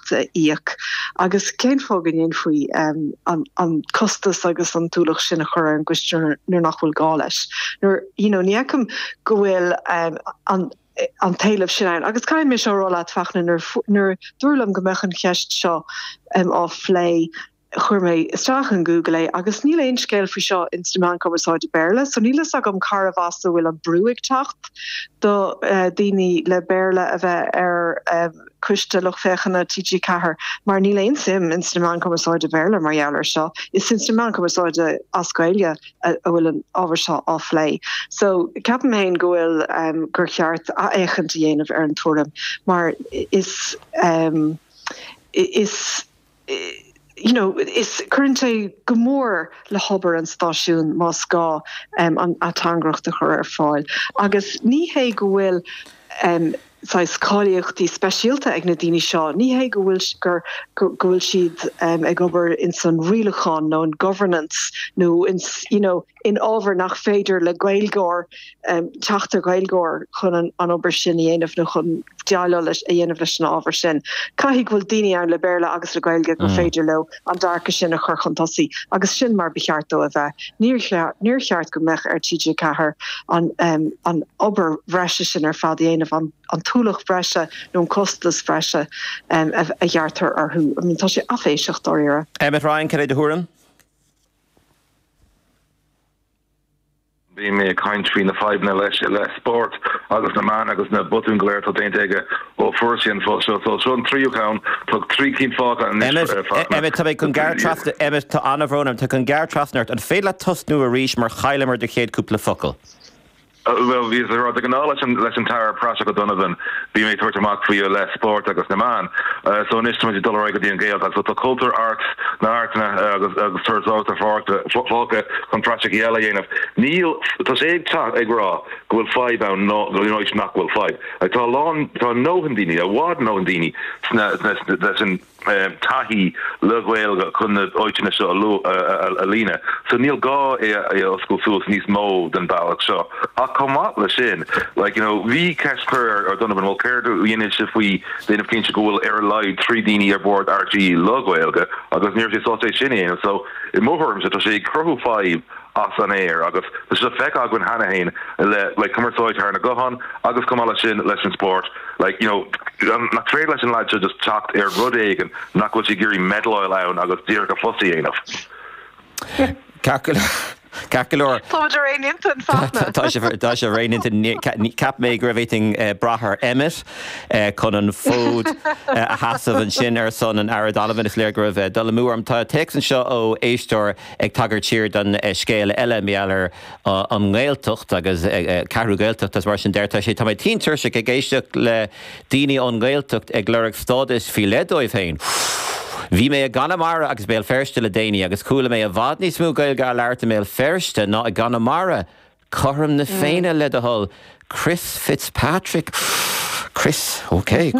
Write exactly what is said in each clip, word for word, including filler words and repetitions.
ateangaireacht a íoc agus cén fáth go ndéanfaí um, an, an costas agus an t-ualach sin a chur ar an gcoiste nuair nach bhfuil gá leis. Nuair you know, ní fheicim go bhfuil um, an an t-éileamh sin ann. Agus caithfidh mé seo a rá leat Fachtna nuair dúradh liom go mbeadh an cheist seo um, á phlé chuir mé isteach in Google é agus níl aon scéal faoi seo in sna meáin chumarsáide Béarla, so níl a fhios agam cárbh as a bhfuil an brú ag teacht do uh, daoine le Béarla a bheith ar um, coiste lucht féachana TG Ceathair mar níl aon suim in sna meáin chumarsáide Béarla mar gheall air seo is in sna meáin chumarsáide as Gaeilge a bhfuil an ábhar seo á phlé. So ceapaim féin go bhfuil um, gur cheart athfhéachaint a dhéanamh ar an tuairim mar is um, is you know, is cuireann sé go mór le hobair an stáisiún más gá um, an ateangaireacht a chur ar fáil. Agus ní hé go bhfuil um, saghas cáilíochtaí speisialta ag na daoine seo, ní hé go bhfuil gur go bhfuil siad um, ag obair in san rialachán nó in governance nó in you know, in ábhar nach féidir le Gaeilgeoir um, teacht ar Ghaeilgeoir chun an, an obair sin a dhéanamh nó chun déileáil leis a dhéanamh leis an ábhar sin. Caithfidh go bhfuil daoine ann le Béarla agus le Gaeilge go mm. féidir leo an dearcadh sin a chur chun tosaigh agus sin mar ba cheart dó a bheith. Níor cheart go mbeadh ar TG Ceathair an, um, an obair bhreise sin ar fad a dhéanamh an, an t-ualach breise nó an costas breise um, a, a ghearrtar orthu. I mean, tá sé áiféiseach dáiríre. Emmet Ryan cad é do thuairim? Bhí mé ag caint faoi na fadhbanna leis le spórt agus na meáin agus na botúin go léir atá déanta aige ó fuair sé an post seo. So seo an tríú ceann, tá trí cinn fágtha anois. Emmet, tá mé chun gearradh trasna, Emmet, tá an-bhrón orm, tá chun gearradh trasna ort. An féidir leat tosnú arís mar chailleamar do chéad cúpla focal? Bhuel, bhíos ag rá, de ghnáth leis an leis an tAire Praiseach O'Donovan, bhí mé ag tabhairt amach faoi i leith spórt agus na meán. So anois tá muid ag dul ar aghaidh go dtí an Ghaeltacht. So tá cultúr, arts, na hartanna agus agus turasóireacht fágtha chun praiseach eile a dhéanamh. Níl, tá sé ag teacht ag rá go bhfuil fadhb ann nó in áit nach bhfuil fadhb. Like tá a lán, tá a ndóthain daoine, i bhfad a ndóthain daoine sna sna leis an taithí le Gaeilge chun na áiteanna seo a líonadh. So níl gá é a oscailt suas níos mó den bealach seo. Ach chomh maith le sin, like, you know, bhí ceist curtha ar O'Donovan, bhuel céard a dhéanfaidh sé faoi déanamh cinnte go bhfuil ar a laghad trí daoine ar bord RTÉ le Gaeilge agus ní raibh sé sásta é sin a dhéanamh. So i mo thuairimse tá sé ag cruthú fadhb as an aer agus tá sé feicthe againn cheana féin le like cumarsáid thar na gutháin agus chomh maith leis sin leis an spórt like you know nach féidir leis an leaid seo just teacht ar rud éigin nach bhfuil sé ag iarraidh meddleáil ann agus díreach a phost a dhéanamh. Ceart go leor. Ceart go leor. Táimid ar aon intinn, Fachtna. Tá sibh tá sibh ar aon intinn. Cheap mé go raibh bhféadfainn brath ar Emmet chun an fód a sheasamh ansin ar son an Aire Donovan. Is léir go raibh dul amú orm. Tá téacs anseo ó éisteoir ag tagairt siar don scéal eile mar gheall ar an nGaeltacht agus Ceathrú Gaeltacht agus mar sin de. Deir sé, Tá mé tinn tuirseach ag éisteacht le daoine ón nGaeltacht ag lorg stádas faoi leith dóibh féin. Bhí mé i gConamara agus Béal Feirste le déanaí agus chuala mé i bhfad níos mó Gaeilge á labhairt i mBéal Feirste ná i gConamara. Cothrom na Féinne le do thoil. Chris Fitzpatrick. Chris, ok,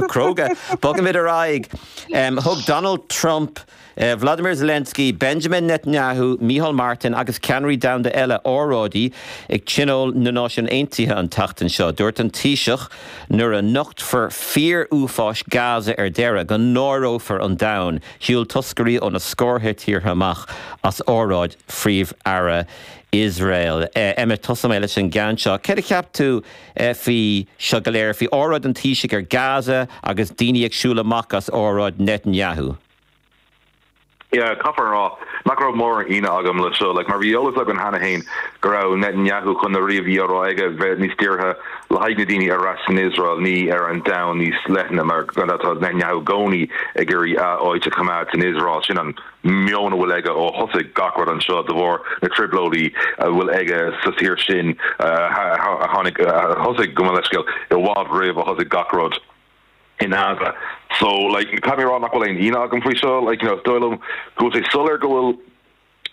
cróga. Bogaimid ar aghaidh. Thug Donald Trump, Vladimir Zelensky, Benjamin Netanyahu, Micheál Martin agus ceannairí domhanda eile óráidí ag Tionól na Náisiún Aontaithe an tseachtain seo. Dúirt an Taoiseach nuair a nochtfar fíor-uafáis Gaza ar deireadh, go náireofar an domhan. Shiúil toscairí ó na scórtha tíortha amach as óráid Phríomh-Aire Iosrael. Emmet, tosóidh mé leis an gceann seo. Céard a cheap tú faoi seo go léir, faoi óráid an Taoisigh ar Gaza agus daoine ag siúl amach as óráid Netanyahu? Yeah, caithfear a rá nach raibh mórán ionadh agam le seo, like, mar bhí eolas againn cheana féin go raibh Netanyahu chun na rudaí a bhí á rá aige bheith níos dírithe le haghaidh na daoine ar ais san Iosrael, ní ar an domhan níos leithne, mar gan dabht tá Netanyahu i gcónaí ag iarraidh a áit a choimeád san Iosrael, sin an meon a bhfuil aige ó thosaigh gach rud anseo de bharr na trioblóidí a bhfuil aige sa tír sin a tháinig, a thosaigh, gabh mo leithscéal, i bhfad roimh a thosaigh gach rud in Gaza. So, like, caithfidh mé a rá nach bhfuil aon ionadh agam faoi seo, like, you know, is dóigh liom go bhfuil sé soiléir go bhfuil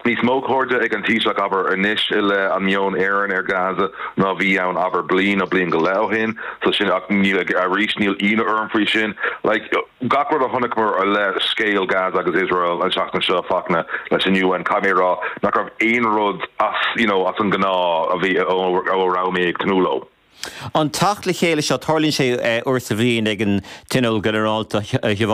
níos mó cairde ag an Taoiseach, abair, anois i leith an meon Éireann ar Gaza ná a bhí ann, abair, bliain nó bliain go leith ó shin. So sin, ach níl, arís, níl ionadh orm faoi sin. Like, gach rud a chonaiceamar i leith scéal Gaza agus Iosrael an tseachtain seo, Fachtna, leis an UN, caithfidh mé a rá nach raibh aon rud as, you know, as an ngnáth a bhí, ó a raibh mé ag tnúth leo. An teacht le chéile seo, tarlaíonn sé uair sa bhliain ag an Tionól Ginearálta, a Shiobhán.